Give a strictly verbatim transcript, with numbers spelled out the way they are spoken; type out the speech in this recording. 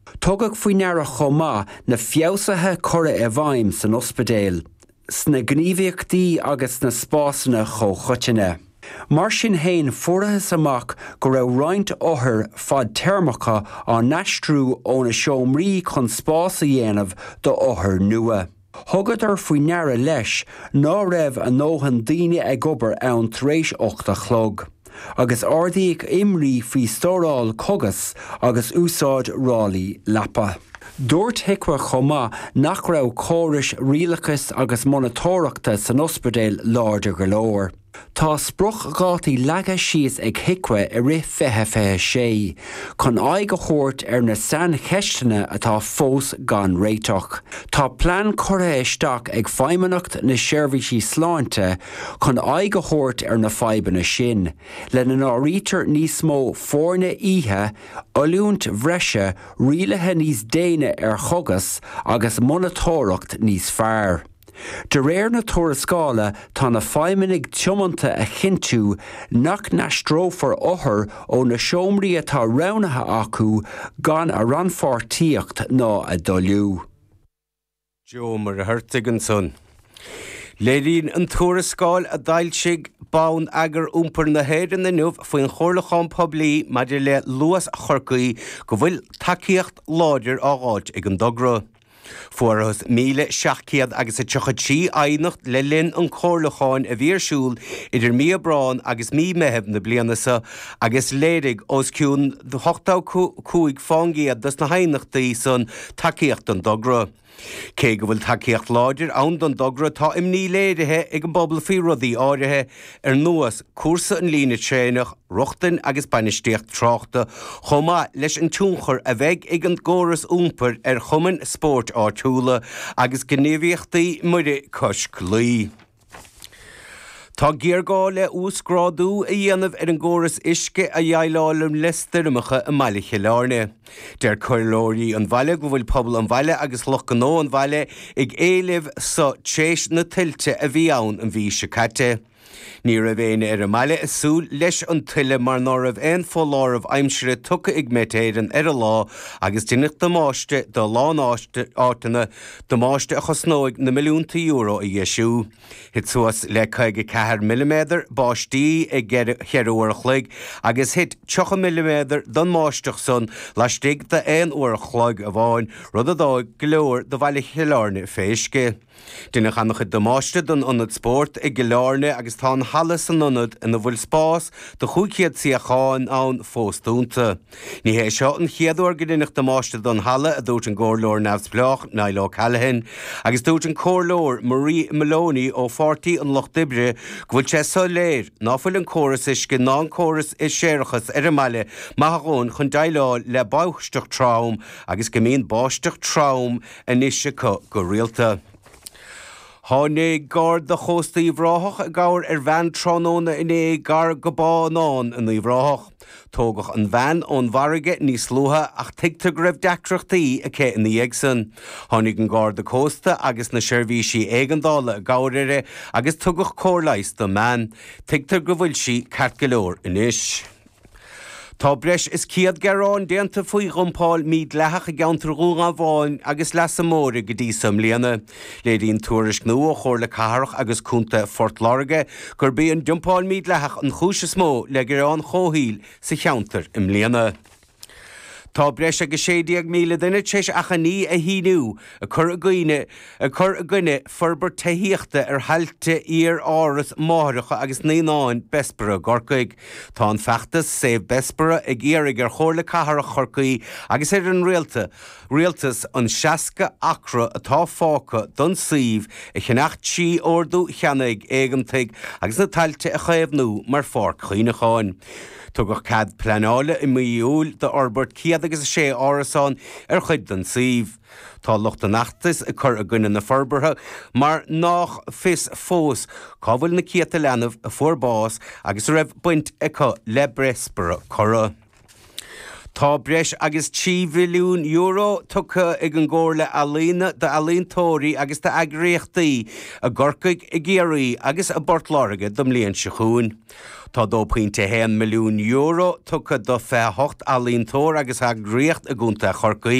Tugadh faoi ndeara chomh maith na feabhsuithe curtha i bhfeidhm san ospidéal, sna gníomhaíochtaí agus na spásanna comhchoiteanna. Mar sin féin fuarthas amach go raibh roinnt othar fadtéarmacha á n-aistriú óna seomraí chun spás a dhéanamh do othair nua. Thugadar faoi ndeara leis ná raibh a ndóthain daoine ag obair ann tar éis ocht a chlog. agus ardaíodh imní faoi stóráil cógas agus úsáid ráillí leapa. Dúirt HIQA chomh maith nach raibh córais rialachais agus monatóireachta san ospidéal láidir go leor. Tá spriocdhátaí leagtha síos ag HIQA i rith fiche fiche sé, chun aghaidh a thabhairt ar na saincheisteanna atá fós gan réiteach. Tá plean curtha isteach ag Feidhmeannacht na Seirbhísí Sláinte chun aghaidh a thabhairt ar na fadhbanna sin, lena n-áirítear níos mó foirne oíche, oiliúint bhreise, rialuithe níos déine ar chógas agus monatóireacht níos fearr. De réir na tuarascála tá na feidhmeannaigh tiomanta a chinntiú nach n-aistreofar othair ó na seomraí atá roghnaithe acu gan a rannpháirtíocht ná a dtoiliú. Joe Ó Muircheartaigh ansan. Léiríonn an tuarascáil a d'fhoilsigh Bonneagar Iompair na hÉireann inniu faoin chomhairliúchán poiblí maidir le Luas Chorcaí go bhfuil tacaíocht láidir á fháilt ag an dtogra. Fuarthas míle seacht gcéad agus a tríocha trí aighneacht le linn an chomhairliúcháin a bhí ar siúl idir mí Aibreán agus mí Meitheamh na bliana seo agus léirigh os cionn ochtó cúig faoin gcéad dos na haighneachtaí san tacaíocht don dtogra. Cé go bhfuil tacaíocht láidir ann don dtogra tá imní léirithe ag an bpobal faoi rudaí áirithe ar nós cúrsa an líne traenach, rochtain agus bainistíocht tráchta, chomh maith leis an tionchar a bheidh ag an gcóras iompair ar chumainn spóirt áitiúla agus gníomhaíochtaí muirí cois claí. Tá géarghá le uasghrádú a dhéanamh ar an gcóras uisce a dhéileálann le stoirmeacha i mbaile Chill Airne. Deir comhairleoirí an bhaile go bhfuil pobal an bhaile agus lucht gnó an bhaile ag éileamh seo tréis na tuilte a bhí ann an mhí seo caite. Ní raibh éinne ar an mbaile ag súil leis an tuile mar ná raibh aon foláireamh aimsire tugtha ag Met Éireann ar an lá agus deineadh damáiste do a lán áiteanna, damáiste a chosnóidh na milliúnta euro a dheisiú. Thit suas le caoga ceathair milliméadar báistí i gceithre uair a chloig agus thit tríocha milliméadar den mbáisteach san laistigh d'aon uair a chloig amháin, rud a d'fhág go leor de bhaile Chill Airne fé uisce. Deineadh an-chuid damáiste don ionad spóirt i gCill Airne agus tá an halla san ionad ina bhfuil spás do chúig chéad suíochán ann fós dúnta. Ní hé seo an chéad uair go ndeineadh damáiste don halla, a dúirt an comhairleoir neamhspleách Niall O'Callaghan, agus dúirt an comhairleoir Marie Maloney ó Pháirtí an Lucht Oibre go bhfuil sé soiléir ná fuil an córas uisce ná an córas séarachais ar an mbaile maith a dhóthain chun déileáil le báisteach trom agus go mbíonn báisteach trom anois acu go rialta. Tháinig Garda Chósta Uíbh Ráthach i gcabhair ar bhean tráthnóna inné gar go Bá Fhionáin in Uíbh Ráthach. Tógadh an bhean ón bhfarraige níos luaithe ach tuigtear go raibh deacrachtaí aici ina dhiaidh san. Tháinig an Garda Cósta agus na seirbhísí éigeandála i gcabhair uirthi agus tugadh cóir leighis don mbean. Tuigtear go bhfuil sí ceart go leor anois. Tá breis is céad gearán déanta faoi dhumpáil mhídhleathach i gceantar Dhún Garbhán agus Leasa Móire go dtí seo i mbliana. Léiríonn tuairisc nua ó Chomhairle Cathrach agus Contae Phort Láirge gurb í an dumpáil mhídhleathach an chúis is mó le gearáin chomhshaoil sa cheantar i mbliana. Tá breis agus sé déag míle duine tar éis achainí a shíniú ag cur i gcoinne ag cur i gcoinne forbairt tithíochta ar thailte iar-áras máithreacha agus naíonáin Bessborough i gCorcaigh. Tá an feachtas Save Bessborough ag iarraidh ar Chomhairle Cathrach Chorcaí agus ar an rialta rialtas an seasca acra atá fágtha don suíomh a cheannach trí ordú ceannaigh éigeantaigh agus na tailte a chaomhnú mar pháirc chuimhneacháin. Tugadh cead pleanála i mí Iúil d'fhorbairt céad agus a sé árasán ar chuid den suíomh. Tá lucht an fheachtais ag cur i gcoinne na forbartha mar nach fios fós cá bhfuil na céadta leanbh a fuair bás agus a raibh baint acu le Bessborough curtha. Tá breis agus trí mhilliún euro tugtha ag an gComhairle Ealaíona d'ealaíontóirí agus d'eagraíochtaí i gCorcaigh, i gCiarraí agus i bPort Láirge don mbliain seo chugainn. Tá dó pointe a haon milliún euro tugtha do fiche a hocht ealaíontóir agus eagraíocht i gContae Chorcaí.